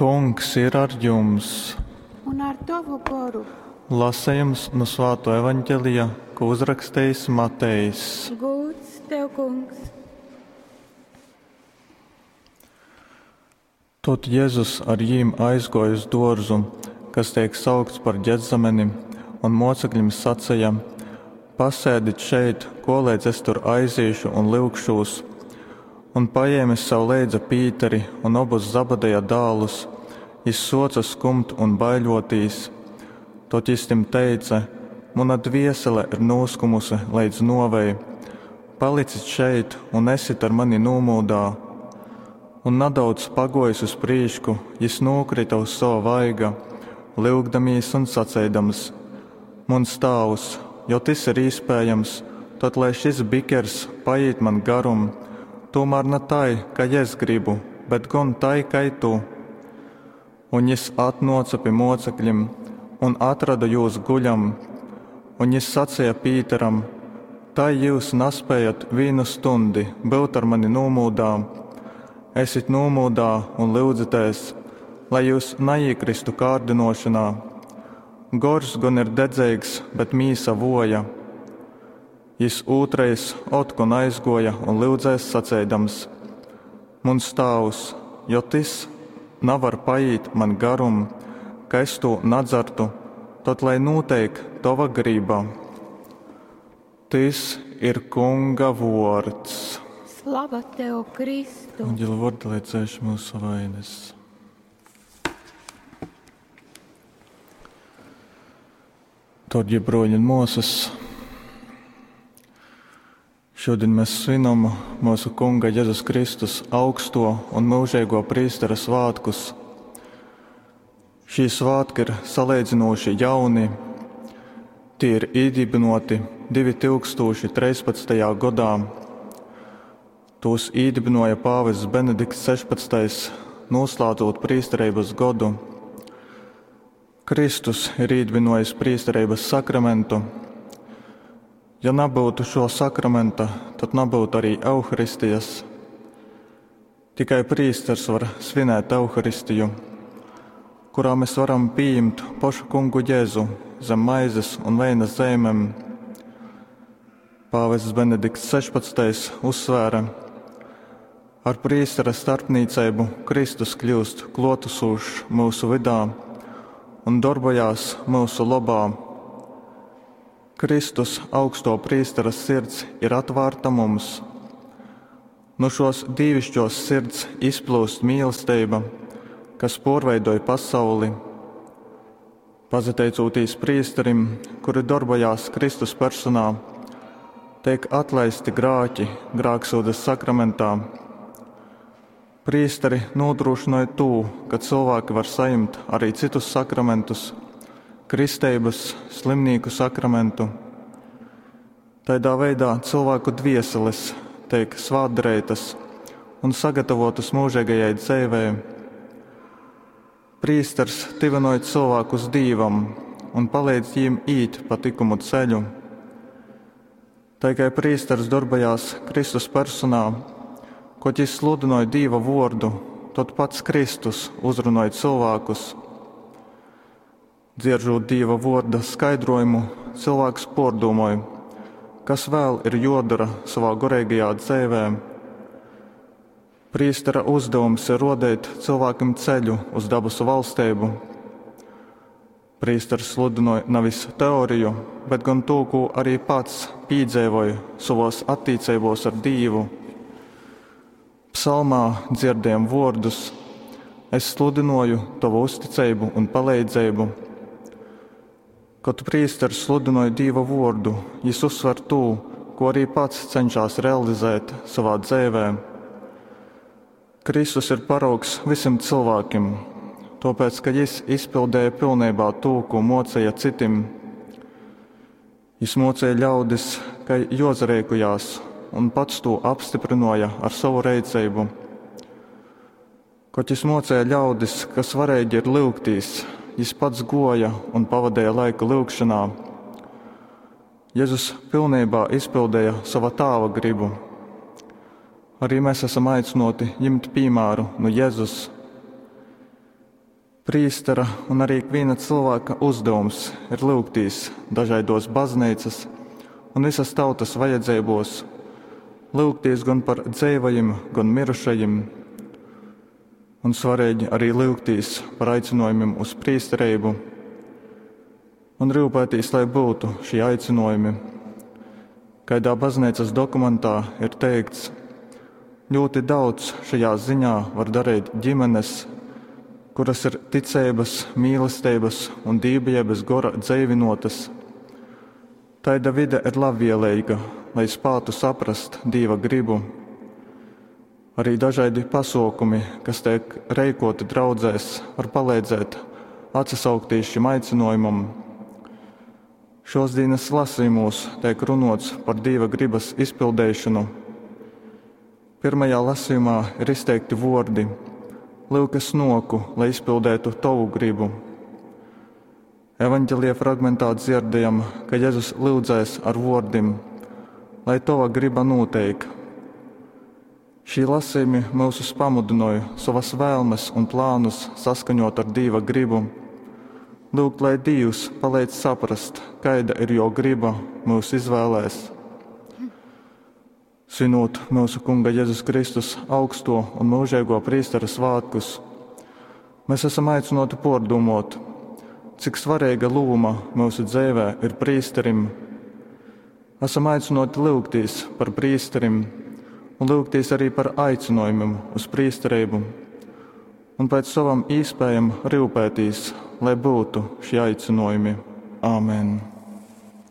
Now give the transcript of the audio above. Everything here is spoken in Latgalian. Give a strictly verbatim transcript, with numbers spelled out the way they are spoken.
Kungs ir ar jums! Un ar tovu goru. Lasejums nu Svāto Evaņģelija, ko uzrakstījis Matejs. Gūds tev, kungs! Tod Jezus ar jīm aizguoja uz duorzu, kas tiek saukts par Ģetsemeni, un mocekļim saceja: Pasēdit šeit, koleidz es tur aizīšu un lyugšūs. Un paēmis sev leidza Pīteri un obus Zabadeja dālus, jis suoca skumt un baiļuotīs. Tod jis tim teice: Muna dviesele ir nūskumuse leidz nuovei. Palicit šeit un esit ar mani nūmūdā. Un nadaudz paguojis uz prīšku, jis nūkrita uz sova vaiga, lyugdamīs un saceidams: Muns tāvs, jo tys ir īspējams, tod lai šis bikers paīt man garum, tūmēr ne tai, kai es gribu, bet gon tai, kai tu. Un jis atnuoca pi mocekļim un atrada jūs guļam, un jis saceja Pīteram: Tai jūs naspējat vīnu stundi byut ar mani nūmūdā. Esit nūmūdā un lyudzitēs, lai jūs naīkristu kārdinošanā. Gors gon ir dedzīgs, bet mīsa voja. Jis ūtrreiz otkon aizguoja un lyudzēs saceidams: Muns tāvs, jo tys navar paīt man garum, ka es tū nadzartu, tod lai nūteik tova griba. Tys ir Kunga vuords. Slava tev, Kristu! Eņģeļa vordi, lai dzēš mūsu vainas. Dārgie broļi un māsas, šodien mēs svinam mūsu Kunga Jēzus Kristus augsto un mūžīgo prīstera svētkus. Šī svētki ir salīdzinoši jauni. Tie ir iedibinoti divi tūkstoši trīspadsmitajā gadā. Tos iedibinoja pāvests Benedikts sešpadsmitais, noslēdzot prīsterības godu. Kristus ir iedibinojis prīsterības sakramentu. Ja nebūtu šo sakramenta, tad nebūtu arī Euharistijas. Tikai prīsters var svinēt Euharistiju, kurā mēs varam pieņemt pašu kungu Jēzu zem maizes un veina zīmēm. Pāvests Benedikts sešpadsmitais uzsvēra: ar prīstera starpniecību Kristus kļūst klotusošs mūsu vidā un darbojās mūsu labā. Kristus augsto prīstera sirds ir atvērta mums. No šos dīvišķos sirds izplūst mīlestība, kas porveidoja pasauli. Pazateicūtīs prīsterim, kuri darbojās Kristus personā, tiek atlaisti grāki grāksūdzes sakramentā. Prīsteri nodrošināja to, ka cilvēki var saņemt arī citus sakramentus, kristības, slimnīku sakramentu. Tādā veidā cilvēku dvieseles tiek svētdarītas un sagatavotas mūžīgajai dzīvei. Prīsters tivinoja cilvēkus Dievam un palīdz viņiem īt pa likumu ceļu. Tā kā prīsters darbojās Kristus personā, ko jis sludināja Dieva vordu, tad pats Kristus uzrunāja cilvēkus. Dzieržot Dieva vorda skaidrojumu, cilvēks pordomāja, kas vēl ir jodara savā gorīgajā dzīvē. Prīstera uzdevums ir rodēt cilvēkam ceļu uz dabasu valstību. Prīsters sludināja nevis teoriju, bet gan to, ko arī pats piedzīvoja savos attiecībos ar Dievu. Psalmā dzirdējam vārdus: Es sludināju tavu uzticību un palīdzību. Kad prīsters sludināja Dieva vārdu, jis uzsver to, ko arī pats cenšas realizēt savā dzīvē. Kristus ir paraugs visiem cilvēkiem, tāpēc, ka jis izpildīja pilnībā to, ko mocīja citim. Jis mocīja ļaudis, ka jozarēkujās, un pats to apstiprināja ar savu reicību. Kad jis mocīja ļaudis, ka svarīgi ir lūgtīs, jis pats goja un pavadīja laiku lūgšanā. Jēzus pilnībā izpildīja sava tāva gribu. Arī mēs esam aicināti ņemt piemēru no Jēzus. Prīstera un arī ikvīna cylvāka uzdevums ir lyugtīs dažaiduos bazneicys un vysys tautys vajadzeibuos, lyugtīs gon par dzeivajim, gon myrušajim. Un svareigi arī lyugtīs par aicynuojumim uz prīstereibu un ryupētīs, lai byutu šī aicynuojumi. Kaidā bazneicys dokumentā ir teikts, ļoti daudz šajā ziņā var dareit ģimenes, kuras ir ticeibys, mīlesteibys un dīvbijeibys gora dzeivynuotys. Taida vide ir labvieleiga, lai spātu saprast Dīva grybu. Arī dažaidi pasuokumi, kas teik reikuoti draudzēs, var paleidzēt atsasauktīs šim aicynuojumam. Šōsdīnas lasījumos teik runuots par Dīva grybys izpildeišonu. Pyrmajā lasījumā ir izteikti vuordi: Lyuk, es nuoku, lai izpildeitu tovu gribu. Evangelija fragmentā dzierdējam, ka Jezus lyudzēs ar vuordim: Lai tova griba nūteik. Šī lasījumi myusus pamudynoj sovas vēlmes un plānus saskaņot ar Dīva gribu. Lyugt, lai Dīvs paleidz saprast, kaida ir jo griba myusu izvēlēs. Svinūt myusu Kunga Jezus Kristus augsto un mūžīgo prīstera svātkus, mēs esam aicināti pārdomāt, cik svarīga loma mūsu dzīvē ir prīsterim. Esam aicināti lūgties par prīsterim un lūgties arī par aicinājumiem uz prīsterību un pēc savam īspējam rūpēties, lai būtu šie aicinājumi. Āmen!